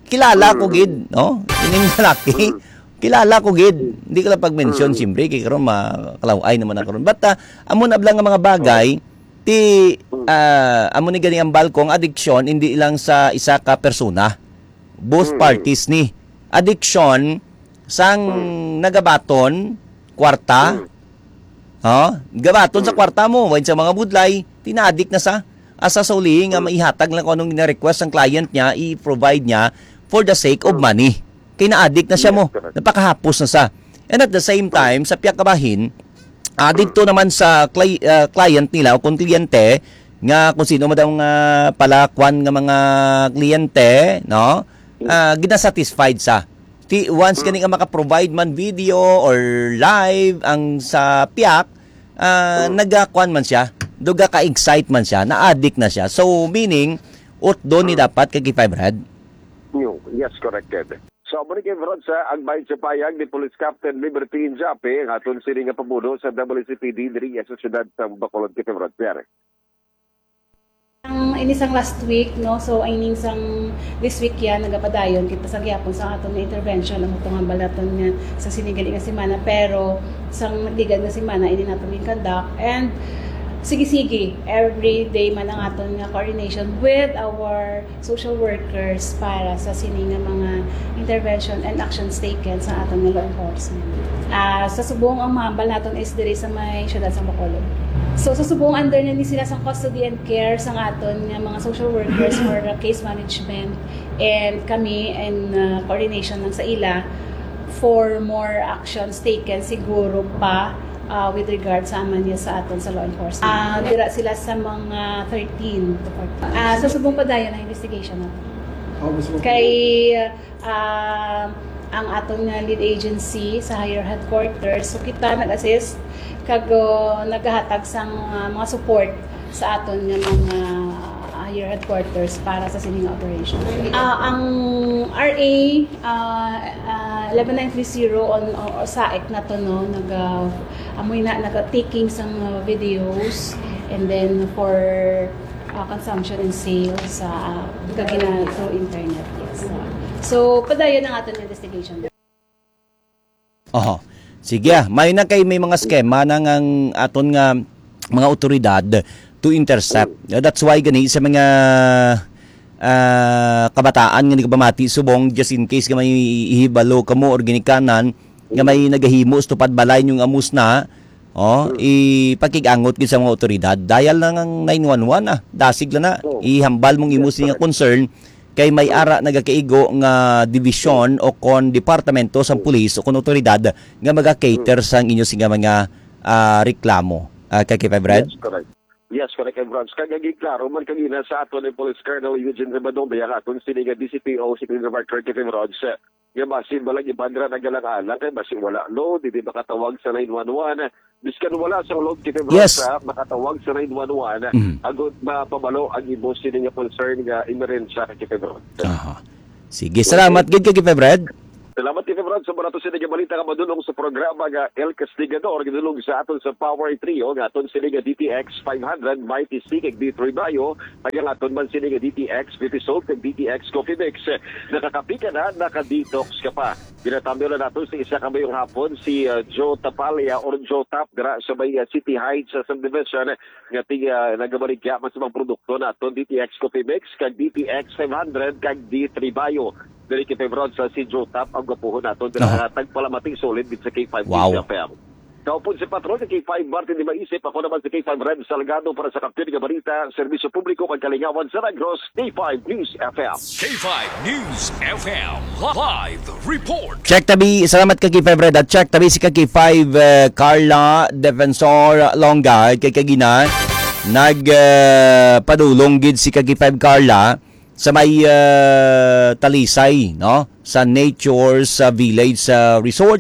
Kilala ko gid, no? Ining lalaki. Kilala ko gid. Hindi ko lang pag-mention, siyempre, kay karon makalaw-ay naman ako ron. But, ah, amo na lang nga mga bagay, ti, ah, amo ni gani ang balkong adiksyon, hindi lang sa isa ka persona. Both parties ni. Adiksyon sang nagabaton, kwarta, Oh, gabaton sa kwarta mo, wine sa mga budlay, ti naadik na sa, asa sa uli nga maihatag lang kung anong gina-request ang client niya, i-provide niya for the sake of money. Kay naadik na siya mo, napakahapos na sa. And at the same time, sa piyak kabahin, ah, dito naman sa cli-, ah, client nila o kung kliyente, nga kung sino man daw nga palakwan nga mga kliyente, no? Ah, ginasatisfied sa. Ti, once gani nga maka-provide man video or live ang sa piyak, ah, nagakuan man siya, duga ka-excite man siya, na-addict na siya. So, meaning, utdo ni dapat kag five red. New. Yes, corrected. So, amo ni kay Rod sa agbayad sa payag ni Police Captain Liberty Injape, ang aton sini nga pamuno sa W C P D diri sa siyudad sa Bacolod, kay Rod Pierre. Ang ini sang last week, no? So, I mean, sang this week yan, nagapadayon kita sa gihapon sa aton nga intervention, ang atong hambal naton nga sa sini gali nga semana, pero sang nagligad nga semana, ini naton gin-conduct. And sige-sige, every day man ang aton nga coordination with our social workers para sa sini nga mga intervention and actions taken sa aton nga law enforcement. Ah, sa subong ang mahambal naton is diri sa may siyudad sa Bacolod. So, sa subong under na ni sila sa custody and care sang aton nga mga social workers for case management and kami in, ah, coordination lang sa ila for more actions taken siguro pa, ah, with regard sa amanya sa aton sa law enforcement. Ah, dira sila sa mga thirteen to fourteen. Ah, sa subong pa dayon ang investigation nato. Oh, mas okay. Kay, ah, ang aton nga lead agency sa higher headquarters, so kita nag-assist kag, oh, naghatag sang, ah, mga support sa aton nga mga higher headquarters para sa sini nga operation. Ah, ang R A, ah, ah, eleven nine three zero on, o, o SAEC na to, no, nag, ah, amoy na, nag-taking sang, ah, videos and then for, ah, consumption and sale sa, ah, kagina through internet. Yes. So, padayon ang aton investigation. Oho. Sige, ah. May na kay may mga skema na nga ang aton nga mga otoridad to intercept. That's why gani sa mga, ah, kabataan nga nagpamati subong, just in case nga may ihibalo kamo or ginikanan nga may nagahimo sa tupad balay ninyong amos na, oh, ipakig-angot gid sa mga otoridad. Dial lang ang nine one one, ah. Dasig lang na. Ihambal mong imo sini nga concern kay may ara nagakaigo nga dibisyon o kon departamento sang pulis o kon otoridad nga maga-cater sang inyo sini nga mga, ah, reklamo. Ah, kay Kevin Brad? Yes, correct. Yes, correct, Kevin Brad. Kag agi klaro man kagina sa aton ni Police Colonel Eugene Rebadong, ang aton sini nga D C P O, si Colonel Mark Kevin Brad, sa nga basi balang iban ra nagalang-alang kay basi wala load, hindi makatawag sa nine one one. Biskan wala sang load, K five Rod, Yes. sa makatawag sa nine one one, Mm. agud mapabalo ang imo sini nga concern nga emerhensya, K five Rod. Aha. Sige, salamat gid kay K five Red. Salamat, K five Rod, sa mga to sini nga balita nga madulong sa programa nga El Castigador, gidulong sa aton sa Power Trio, nga aton sini nga D T X five hundred, Mighty C, kag D three Bio, kag ang aton man sini nga D T X fifty Soap, kag D T X Coffee Mix. Nakakapi ka na, naka-detox ka pa. Ginatambyo na nato sa isa ka mayong hapon si, uh, Joe Tapalya or Joe Tap dira sa may, uh, City Heights sa subdivision nga ti-, uh, nagabaligya man sa mga produkto naton, D T X Coffee Mix, kag D T X five hundred, kag D three Bio. Diri kay Febron sa si Joe Tap ang gwapuhon naton dira Aha. nga tagpalamati solid gid sa K five Wow. News F M. Kaupod sa patron kay K five Martin di Maisip, ako naman si K five Red Salgado para sa Kampiyon nga Balita, Serbisyo Publiko kag Kalingawan sa Negros, K five News F M. K five News F M, live report. Check tabi, salamat ka K five Red at check tabi si ka K five, eh, Carla Defensor Longga kay kagina nag, eh, padulong gid si ka K five Carla sa may, ah, Talisay, no? Sa Nature sa Village sa Resort.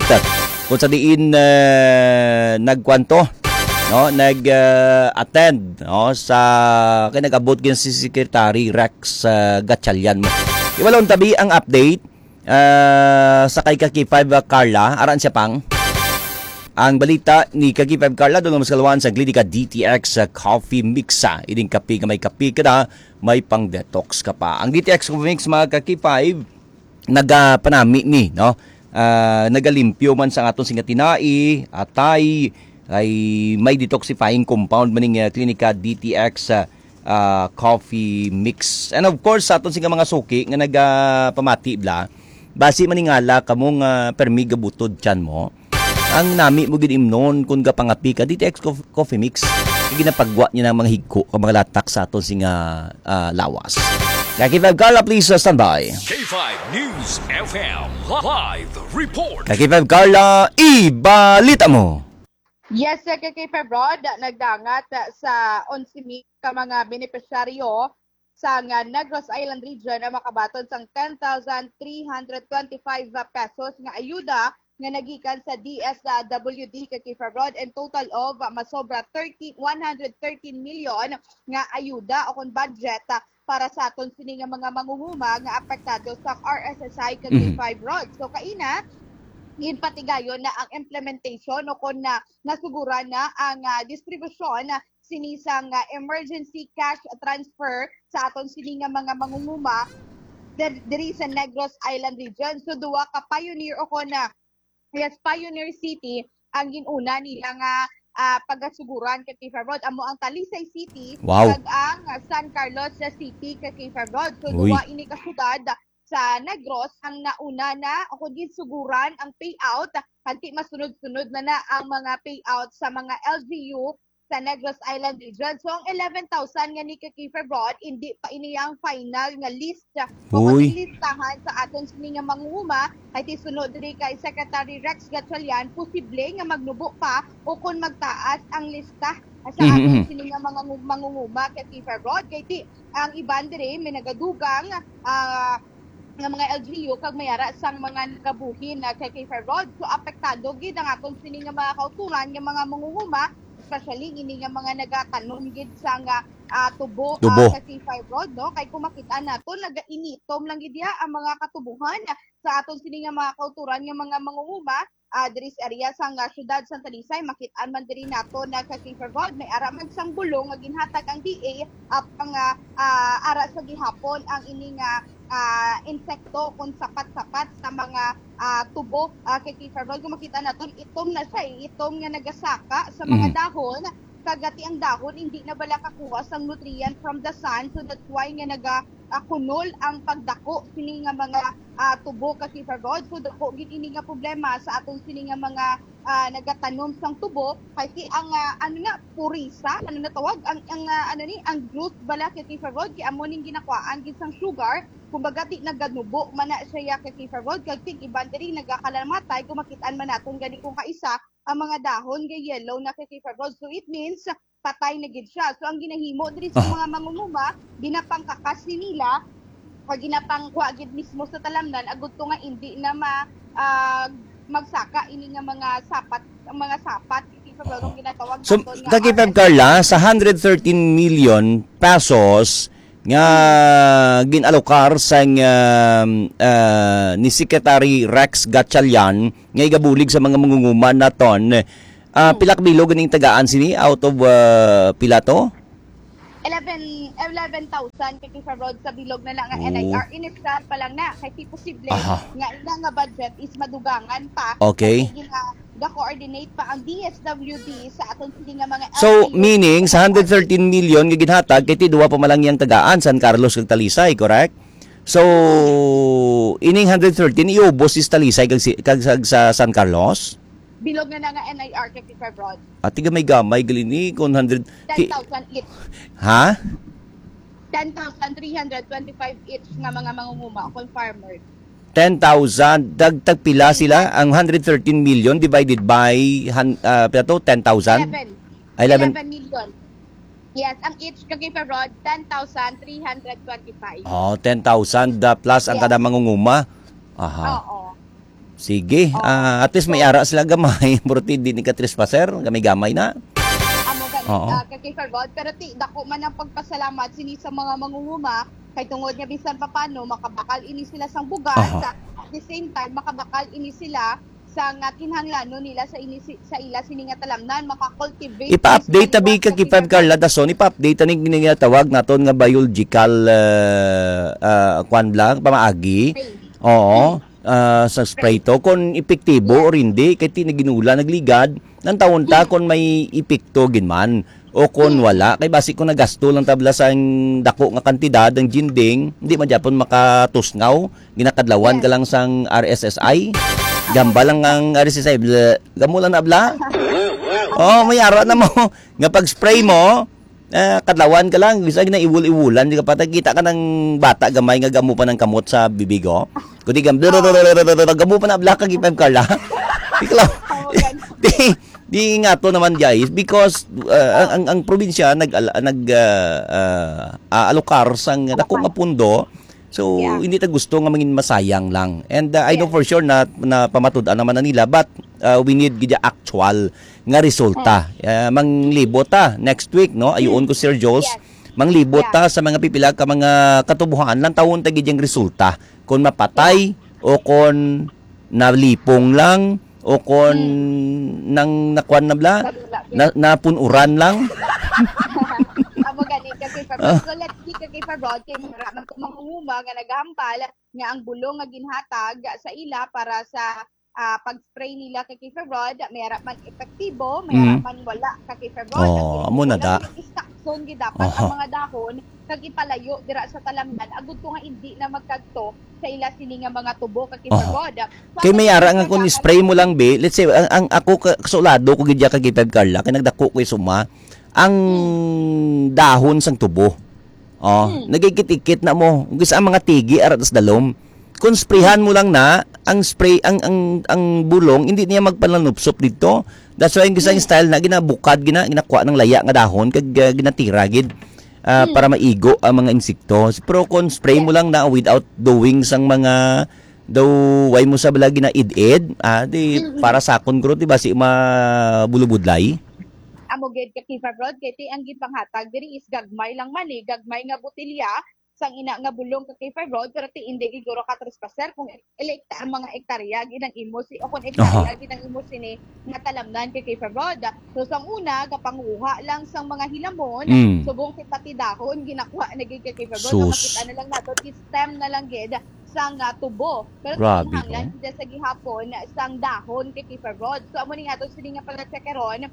Kung sa diin, ah, nagkwanto, no? Nag, ah, attend, no? Sa, kay nag-abot gyud si Secretary Rex, ah, Gatchalian mo. Iwalon tabi ang update, ah, sa kay ka K five, ah, Carla. Aran siya pang. Ang balita ni ka K five Carla, doon mas kalawan sa Glidica D T X, ah, Coffee Mix, ah. Ining kape nga may kape ka na, may pang-detox ka pa. Ang D T X Coffee Mix, mga ka-K five, nagapanami ni, no? Ah, nagalimpyo man sa aton singatinai, atay, ay may detoxifying compound maning, ah, Clinica D T X, ah, ah, Coffee Mix. And of course, sa aton singa mga suki nga nagapamati bla, basi maningala kamo nga permi gabutod tiyan mo. Ang nami mo gid imnon kung gapangapi ka, D T X Cof-, Coffee Mix. Ginapagwa niya ng mga higko, ang mga latak sa aton singa, ah, lawas. Kay K five Carla, please, uh, stand by. K five News F M live report. Kay K five Carla, ibalita mo. Yes, uh, kay K five Rod, nagdangat, uh, sa onse mil ka mga benepisyaryo sang, ah, Negros Island Region ang makabaton sang ten thousand three hundred twenty-five pesos nga ayuda nga nagikan sa D S W D kay K five Rod, and total of, ah, masobra thirty, one hundred thirteen million nga ayuda o kon budget, ah, para sa aton sini nga mga manguhuma nga apektado sa R S S I kay Mhm. K five Rod. So kaina, ginpatigayon na ang implementation o kon na nasuguran na ang, ah, distribusyon sini sang, ah, emergency cash transfer sa aton sini nga mga mangunguma dir-, diri sa Negros Island Region. So, duha ka pioneer o kon, ah, yes, pioneer city ang ginuna nila nga, ah, pagasuguran kay K five Rod. Amo ang Talisay City Wow. kag ang San Carlos City kay K five Rod. So, Uy. duha ini ka syudad sa Negros ang nauna na o kon ginsuguran ang payout, kag ti masunod-sunod na na ang mga payout sa mga L G U sa Negros Island Region. So, ang eleven thousand nga ni Kakifa Broad, hindi pa ini ang final nga list o Uy. Listahan sa aton sini nga mangunguma. Kay ti sunod diri kay Secretary Rex Gatchalian, posible nga magnubo pa o kon magtaas ang lista sa Mhm, aton mhm. sini nga mga ngu-, mangunguma, Kakifa Broad. Kay ti ang iban diri may nagadugang, ah, nga mga L G U kag may ara sang mga nagabuhin na kay K five Road. So, apektado gid ang aton sini nga mga kauturan nga mga mangunguma, especially ini nga mga nagatanom gid sa nga, ah, tubo, Tubo. ah, sa K five Road, no? Kay kung makita nato, nagainitom lang gid diha ang mga katubuhan sa aton sini nga mga kauturan nga mga mangunguma, ah, diri sa area sang, ah, siyudad sang Talisay. Makit-an man diri nato na sa K five Road, may ara man sang bulong nga ginhatag ang D A, ah, pang, ah, ah, ara sa gihapon ang ini nga, ah, insekto kung sapat-sapat sa mga, ah, tubo, ah, kay K five Road. Kung makita naton, itom na siya, eh. Itom nga nagasaka sa mga Mhm. dahon. Kag ti ang dahon, hindi na bala kakuha sang nutrient from the sun. So that's why nga naga, ah, kunol ang pagdako sini nga mga, ah, tubo, Kakifa Broad. So, dako gid ini nga problema sa aton sini nga mga, ah, nagatanom sang tubo, kay ti ang, ah, ano na, purisa, ano na tawag, ang, ang, ah, ano ni, ang growth bala, Kakifa Broad, kay amo ning ginakwaan gid sang sugar, kumbaga, ti naganubo man na siya, Kakifa Broad, kag ting iban diri nagakalamatay, kung makit-an man naton gani kung kaisa, ang mga dahon nga yellow na, Kakifa Broad. So, it means, patay na gid siya. So, ang ginahimo diri sa Ah. mga mangunguma, ginapangkakas ni nila Kag ginapangkuha gid mismo sa talamnan, agud to nga indi na ma-, ah, magsaka ini nga mga sapat, ang mga sapat, Kaki Febro, nung ginatawag So, naton nga Kaki Feb R S I. Carla, sa hundred thirteen million pesos nga ginalokar sang, um, ah, ni Secretary Rex Gatchalian nga igabulig sa mga mangunguma naton, ah, Hmm. pila ka bilog ning tagaan sini out of, ah, pila to? Eleven, eleven thousand, Kaki Febro, sa bilog na lang nga Oh. N I R. Initial pa lang na, kay di posible Aha. nga ila nga budget is madugangan pa. Okay. Kay gina-, ga-coordinate pa ang D S W D sa aton sini nga mga So, L G U. meaning, sa hundred thirteen million nga ginhatag, kay ti duwa pa man lang yang tagaan, San Carlos kag Talisay, correct? So, ining hundred thirteen, iubos is Talisay kag si-, kag sa, sa San Carlos? Bilog na na nga N I R, Kaki Febro. Ati gamay-gamay, gali ni, kung hundred, Ten thousand each. Ha? Ten thousand three hundred twenty-five each nga mga mangunguma, kung farmer. Ten thousand, dag-, tagpila sila? Ang hundred thirteen million divided by, han-, ah, pila to? Ten thousand? Eleven. Ah, eleven. Eleven million. Yes, ang each, Kaki Febro, ten thousand three hundred twenty-five. Oh, ten thousand, ah, plus ang Yes. kada mangunguma. Aha. Oo. Sige. Oo. Ah, at least may So, ara sila gamay. Pero ti, di ni ka trespaser. Gamay-gamay na. Amo gani, Oo. ah, Kaki Febro. Pero ti, dako man ang pagpasalamat sini sa mga mangunguma. Kay tungod nga bisan pa paano, makabakal ini sila sang bugas. Aha. Sa, at the same time, makabakal ini sila sa nga kinahanglanon nila sa ini si-, sa ila sini nga talamnan, maka-cultivate Ipa-update sila tabi sa Kaki Feb, Carla Dason, ipa-update ani ginatawag naton nga biological, ah, ah, kwan lang, pamaagi. Spray. Oo. Hmm. Ah, sa spray to, kung epektibo Yes. or hindi, kay ti naginula, nagligad, nang taon ta Hmm. kung may epekto gid man. O kung Hmm. wala, kay basi kung nagasto lang tabla sang dako nga kantidad ang jinding, hindi man gyapon makatusngaw, ginakadlawan ka Yes. lang sang R S S I. Gamba lang ang R S S I, bla-, gamo lang na bla. Oh, may ara na mo. Nga pag-spray mo, ah, kadlawan ka lang, bisa na iwul-iwulan, di ka patay. Kita ka ng bata gamay nga gamo pa ng kamot sa bibig, oh. Kundi gam-, gamo pa na bla, Kaki Feb, Carla. Di ka lang. Oo, ganun. Di, di nga to naman, guys, because, uh, ang, ang, ang probinsya nag, nag, uh, uh, aalokar sang dako nga pundo, so, Yeah. hindi ta gusto nga mangin masayang lang. And, uh, I know Yes. for sure na, na pamatud-an naman na nila, but, uh, we need gid actual nga resulta. Hmm. Uh, manglibo ta next week, no? Ayuon Hmm. ko, Sir Jules. Yes. Manglibo Yeah. ta sa mga pipila ka mga katubuhan, lang tawon ta gid yung resulta. Kung mapatay Yeah. o kung nalipong lang, o kon Hmm. nang nakuan na bla, Kadula, na, yes. napunuran lang. Amo gani, Kaki Febro. Ah. So, let's see, Kaki Febro, kay mura man to mangunguma nga nagahambal nga ang bulong nga ginhatag sa ila para sa, ah, pag-spray nila, Kaki Febro, may ara man epektibo, may ara Mhm. man wala, Kaki Febro. Oh, Ang amo na ginbubulan da. Gid, istakson gid dapat Aha. ang mga dahon kag ipalayo dira sa talamnan, agud to nga indi na magkadto sa ila sini nga mga tubo, Kaki Aha. Febro. So, Kay ang may ara nga kung nagkakalat spray mo lang, be, let's say, ang, ang ako ka-, kasulado ko gid ya, Kaki Feb, Carla, kay nagdako ko isuma, ang Hmm. dahon sang tubo. Oh, Hmm. nagikit-ikit na mo. Kung sa mga tigi, ara tas dalom. Kung sprayhan mo lang na, ang spray, ang, ang, ang bulong, hindi niya magpananupsop dito. That's why, ang isang Hmm. style na ginabukad, gina-, ginakuha ng laya nga dahon, kag, ah, ginatira gid, ah, Hmm. para maigo ang mga insekto. Pero kung spray mo Yes. lang na without doing sang mga, daw, way mo sa bala ginaid-id, ah, di Mm-mm. para sa akon, guro, di ba, si mabulubudlay? Amo gid, Kaki Febro, kay ti ang gipanghatag diri is gagmay lang man eh, gagmay nga botelya, sang ina nga bulong, Kaki Febro, pero ti indi gid guro ka trespasser kung ek-, ele-, ang mga ektarya gid ang imo si, o kung ektarya Aha. gid ang imo sini nga talamnan, Kaki Febro. So, sang una, gapanguha lang sang mga hilamon, Mm. subong ti pati dahon, ginakuha na gid, Kaki Febro. So, Sus. makita na lang nato, ti stem na lang gid sang, ah, tubo. Pero Grabe, kinahanglan no? gid sa gihapon sang dahon, Kaki Febro. So, amo ni nga to, sini nga pala check karon,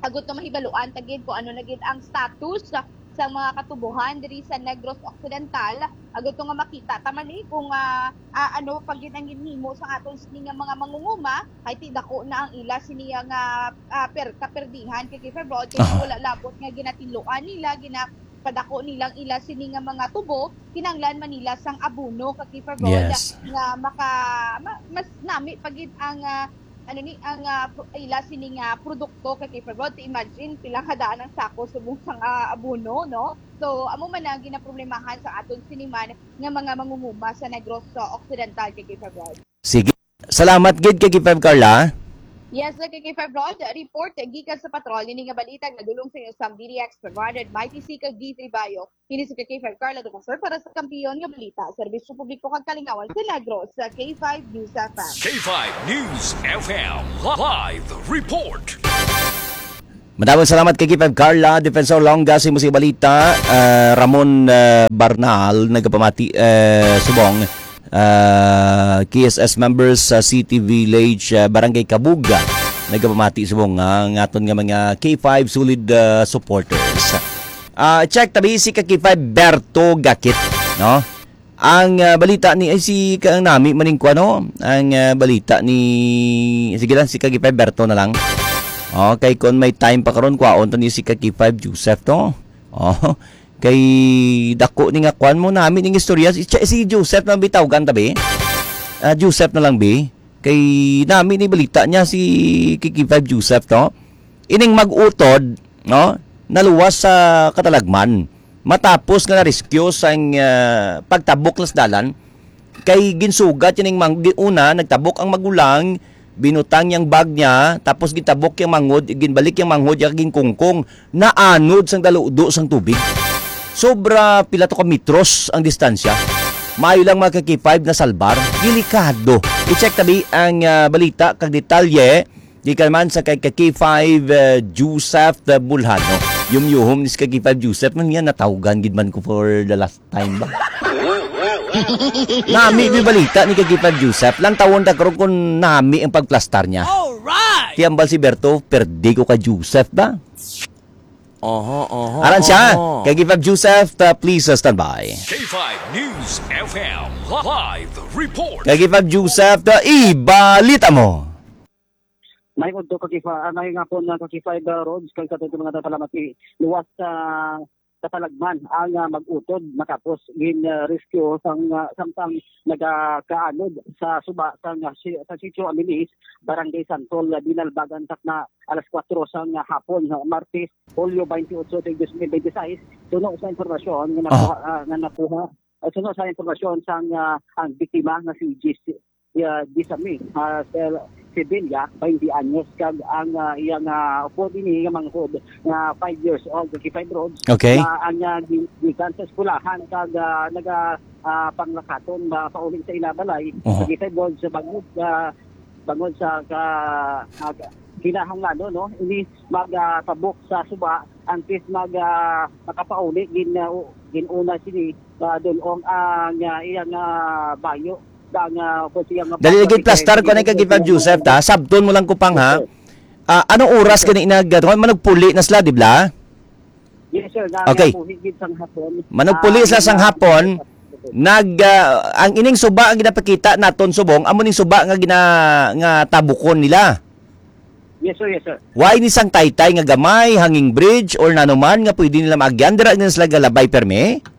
agud to mahibaluan ta gid kung ano na gid ang status sa, sa mga katubohan diri sa Negros Occidental, agud to nga makita ta man, eh, kung, ah, ah, ano pa gid ang ginhimo sa aton sini nga mga mangunguma, kay ti dako na ang ila sini nga, ah, per-, kaperdihan, Kaki Febro, kay Aha. wala labot nga ginatinluan nila, ginapadako nilang ila sini nga mga tubo, kinahanglan man nila sang abono, Kaki Febro, Yes. nga maka-, ma-, mas nami pa gid ang, ah, ano ni ang, ah, pro-, ila sini nga produkto, ka K five Rod. Imagine pila ka daan ang sako subong sang, ah, abono, no? So, amo man ang ginaproblemahan sa aton sini man nga mga mangunguma sa Negros, ah, Occidental, ka K five Rod. Sige. Salamat gid, ka K five Carla. Yes, ka K five Rod. Report gikan sa patrol. Ini nga balita nga dulong sa inyo sang D D X, Branded Mighty C, kag D three Bayo. Ini si ka K five Carla Ducasor para sa Kampiyon nga Balita, Serbisyo Publiko kag Kalingawan sa Negros, sa K five News F M. K five News F M live report. Madamong salamat, ka K five Carla. Defensor Longa, sa imo sa balita. Ah, Ramon, ah, Barnal, nagapamati, ah, subong. Ah, K S S members sa City Village, ah, Barangay Kabuga, nagapamati subong nga ang aton nga mga K five solid, ah, supporters. Ah, check tabi si ka K five Berto Gakit, no? Ang, ah, balita ni, ay, si ka-, ang nami maning kuan, no? Ang, ah, balita ni, sige lang, si ka K five Berto na lang. Okay, kung may time pa karon, kwaon to ni si ka K five Joseph to. Oh, kay dako ni nga kuan mo nami ning istorya. Si, si Joseph na lang bitawgan tabi. Ah, Joseph na lang bi. Kay nami ni balita niya si ka K five Joseph to. Ining mag-utod, no? Naluwas sa Katalagman matapos nga na-rescue sang, ah, pagtabok las dalan. Kay ginsugat yan ning mang-, gi-, una, nagtabok ang magulang, binutang yang bag niya, tapos gitabok yang manghod, ginbalik yang manghod, ya ginkungkong, naanod sang daludo sang tubig. Sobra pila to ka metros ang distansya. Maayo lang mga ka K five na salbar. Delikado. I-check tabi ang, ah, balita kag detalye gikan man sa kay ka K five, ah, Joseph Bulhano. Yumyuhom ni si ka K five Joseph man niya, natawgan gid man ko for the last time ba? Nami, may balita ni ka K five Joseph. Lang tawon ta karon kung nami ang pagplastar niya. Alright! Tiyambal si Berto, perdi ko ka Joseph ba? Oho, oho, Aran siya, oho. Ka K five Joseph, ta, please, uh, stand by. K five News F M live report. Ka K five Joseph, ta, ibalita mo. May udto ka K five, ah, may nga po na ka K five, uh, roads, kag sa tuto mga salamat ni luwas sa Katalagman ang, ah, mag-utod matapos gin, ah, rescue sang, ah, samtang nagakaanod sa suba sang, ah, si-, sa Sitio Amilis, Barangay Santol, ah, Binalbagan, takna alas kuwatro sang, ah, hapon, ah, Martes, Hulyo twenty-eight, dos mil twenty-six. Suno sa impormasyon nga nakuha, ah, nga nakuha, ah, suno sa impormasyon sang, ah, ang biktima nga si Jis-, ah, Jisami, ah, Sel-, Sevilla, twenty anyos, kag ang, ah, iyang, ah, upod ini nga manghod nga five years old, ka K five Roads, Okay. nga ang, ah, gi-, gikan sa eskwelahan kag, ah, naga, ah, panglakaton ba pauli sa ila balay, Oho. ka K five Roads, sa bangod, ah, bangod sa ka-, ah, kinahanglan, no? Ini mag, ah, tabok sa suba, antes mag, ah, makapauli, gin, ah, u-, gin-una sini, ah, dul-ong ang, ah, iyang, ah, bayo, ang, ah, kung siya nga Dali lagi plastar ko na kag Joseph, ta. Sabton mo lang ko pang, ha? Yes, sir. Ah, anong oras Yes, sir. gani nag-, ano, manugpuli na sila, di ba? Yes, sir. Na, Okay. nabuhi gid sang hapon. Manugpuli Ah, sila sang na-, hapon, nag, ah, ang ining suba ang ginapakita naton subong, amo ning suba nga gina-, nga tabukon nila. Yes, sir. Yes, sir. Why ni sang taytay nga gamay, hanging bridge, or nanuman nga pwede nila maagyan? Dira na sila galabay permi?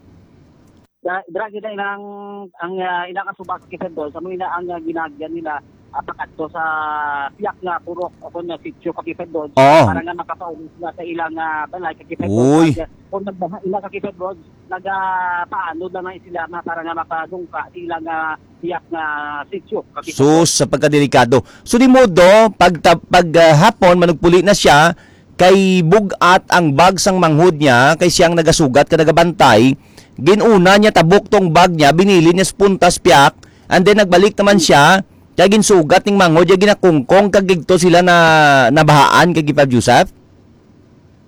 Da-, dira gid ang, ang, ah, ilang asuba ka K five Roads, amo ina ang, ah, ginagyan nila, ah, pakadto sa piyak nga purok o kon nga sitio ka K five Roads, Oo. para nga makapauli sila sa ilang, ah, balay ka K five Roads. Uy. Kag, ah, kung nagbaha ila ka K five Roads, nagapaanod lang na sila ma-, para nga makadungka sa ilang, ah, piyak nga sitio ka K five Roads. Sus, sa pagkadelikado. So, di modo, pag ta-, pag, ah, hapon, manugpuli na siya, kay bug-at ang bag sang manghod niya, kay siyang nagasugat ka nagabantay. Gin-una niya tabok tong bag niya, binilin niya sa puntas piyak, and then nagbalik naman siya, kay ginsugat ning manghod, niya ginakungkong, kag didto sila na nabahaan kay Gipab Joseph.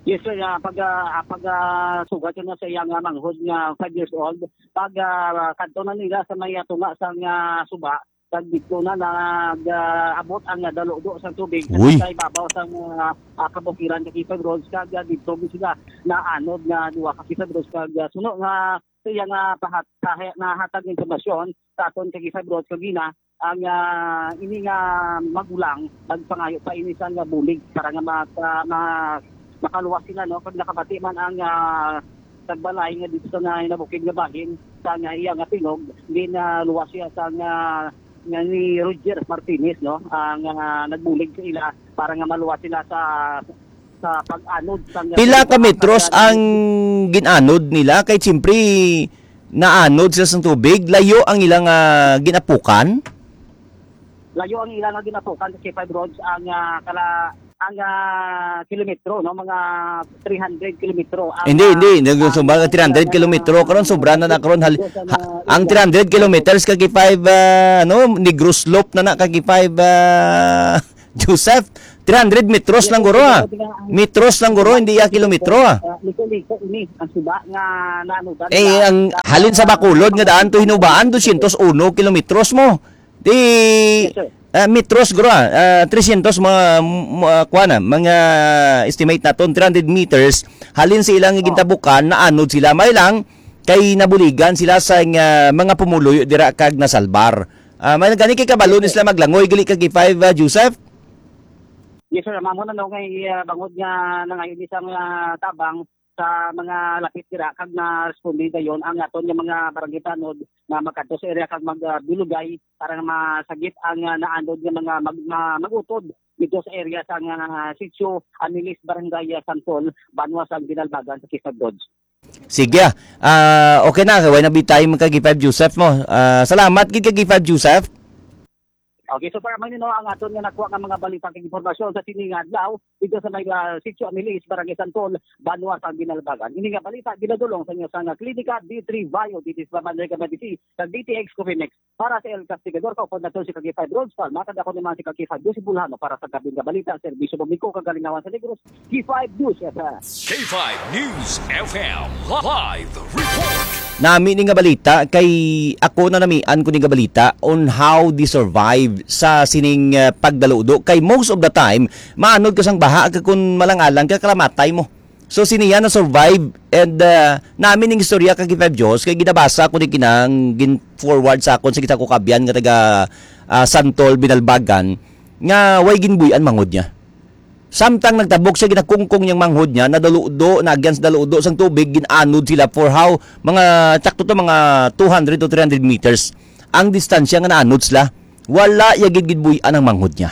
Yes, sir. Ah, pag, ah, pag, ah, sugat yun na sa iyang, ah, manghod nga five years old, pag, ah, kadto na nila sa may, ah, tunga sang, ah, suba, kag didto na nag, ah, abot ang, ah, daludo sang tubig sa Uy. Sa ibabaw sang, ah, ah, kabukiran ka K five Roads, kag, ah, didto gid sila naanod nga duha ka K five Roads, kag, ah, suno nga sa iya nga pahat-, pahe-, nahatag nga impormasyon sa aton ka K five Roads kagina, ang, ah, ini nga magulang nagpangayo pa ini sa nga bulig para nga maka-, ma-, makaluwas sila, no? Kag nakabati man ang, ah, tagbalay nga dito sa na-, nabukid nga bahin sa nga iya nga tingog, ginaluwas siya sa nga nga ni Roger Martinez, no, ang, ah, nagbulig sa ila para nga maluwas sila sa, sa pag-anod sang Pila ka metros ang gin-anod nila? Kay siyempre, naanod sila sa tubig. Layo ang ilang, ah, ginapukan? Layo ang ilang ginapukan sa K five Roads ang, ah, kala-, ang, ah, kilometro, no? Mga three hundred kilometro ang, Hindi, ah, hindi. Nag-, ang, sumba ka three hundred kilometro. Karon, sobra na na karon. Hal-, ha-, ang three hundred kilometers ka K five, ah, ano, Negros Slope na na ka K five, ah, Joseph. Three hundred metros lang, guro, ah. Metros lang, guro, hindi ya kilometro, ah. Ah, liko-liko ini ang suba nga naano, Eh, ang halin sa Bacolod nga daan to Hinubaan, dosyentos uno kilometros mo. Di, Yes, sir. Ah, metros, guro, ah, ah, tresyentos mga, m-, ah, kuwan na, mga estimate naton, three hundred meters, halin sa ilang Oh. gintabukan, naanod sila. May lang, kay nabuligan sila sa nga, mga pumuluyo dira kag nasalbar. Ah, may gani kay kabalo ni sila maglangoy, gali kag K five, ah, Joseph? Yes, sir. Mamo na, no, kay, ah, bangod nga nangayo ni sang, ah, tabang, sa mga lapit dira kag na-responde dayon ang aton nga mga barangay tanod nga magkadto sa area kag mag, ah, dulugay para nga masagip ang, ah, naanod nga mga mag-, ma-, mag-utod dito sa area sa nga sitio Amilis, Barangay, ah, Santol, banwa sang Binalbagan sa Quezon Roads. Sige, ah. Ah, okay na, way na bitay man kag K five Joseph mo. Ah, salamat gid kag K five Joseph. Okay, so para man, no, ang aton nga nakuha nga mga balita kag impormasyon sa sini nga adlaw, dito sa may, ah, Sitio Amilis, Barangay Santol, banwa sa Binalbagan. Ini nga balita ginadulong sa inyo sa nga Klinika D three Bio, D T S Babanday ka Medicine, sa D T X Coffee Mix. Para sa El Castigador, kaupod nato si Kag K five Rhodes Palma, kag ako naman si Kag K five Lucy Bulhano para sa Gabing nga Balita, Serbisyo Publiko, kag Kalingawan sa Negros, K five News F M. K five News F M live report. Nami ni nga balita kay ako na namian ko ni nga balita on how they survive sa sining, uh, pagdaludo. Kay most of the time, maanod ka sang baha kag kun malang-alang ka, kalamatay mo. So, siniya na survive and, uh, nami ning istorya kag K five Diyos kay ginabasa ko ni kinang gin-forward sa akon sa isa ko kabyan nga taga, uh, Santol, Binalbagan nga way ginbuy-an manghod niya. Samtang nagtabok siya, ginakungkong niyang manghod niya, nadaludo, naagyan sa daludo sang tubig, gin-anod sila for how, mga, tsakto to, mga two hundred to three hundred meters ang distansya nga naanod sila. Wala ya gid ginbuy-an ang manghod niya.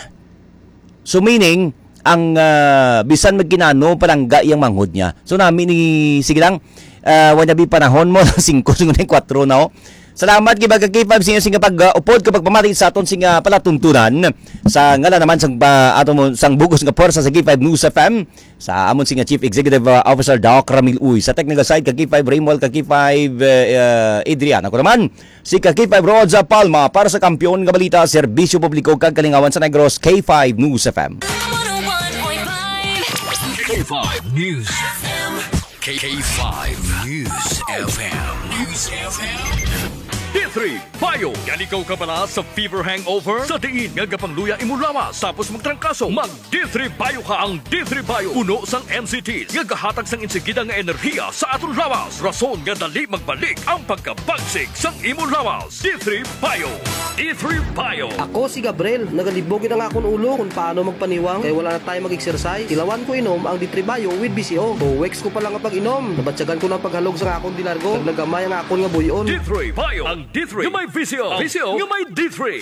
So, meaning, ang, ah, bisan magkinano, palangga iyang manghod niya. So, nami ni, sige lang, ah, wala bi panahon mo, singko, singko na yung kwatro na, oh. Salamat kay Baga K five sa inyo sing pag-upod kag pagpamati sa aton sing, ah, palatuntunan. Sa ngalan naman sang pa-, ato mo, sang bugos nga puwersa sa K five News F M, sa amon sing Chief Executive, ah, Officer Doc Ramil Uy, sa technical side kag K five Raymol, kag K five, eh, ah, Adrian. Ako naman, si kag K five Rods, ah, Palma para sa Kampiyon nga Balita, Serbisyo Publiko kag Kalingawan sa Negros, K five News F M. K five News. K five News F M. News F M. D three Bio. Gali ka kabalo sa fever hangover? Sa diin nga gapangluya imo lawas tapos magtrangkaso, mag D three Bio ka. Ang D three Bio, puno sang M C Ts nga gahatag sang insigida nga enerhiya sa aton lawas, rason nga dali magbalik ang pagkabagsik sang imo lawas. D three Bio. D three Bio. Ako si Gabriel, nagalibog gid ang akon ulo kung paano magpaniwang kay wala na tayo mag-exercise. Tilawan ko inom ang D three Bio with V C O. Two weeks ko pa lang ang pag-inom, nabatyagan ko na ang paghalog sa akon di largo. Nagnagamay ang akon nga buy-on. D three Bio. Ang D three nga may V C O. V C O nga may D three.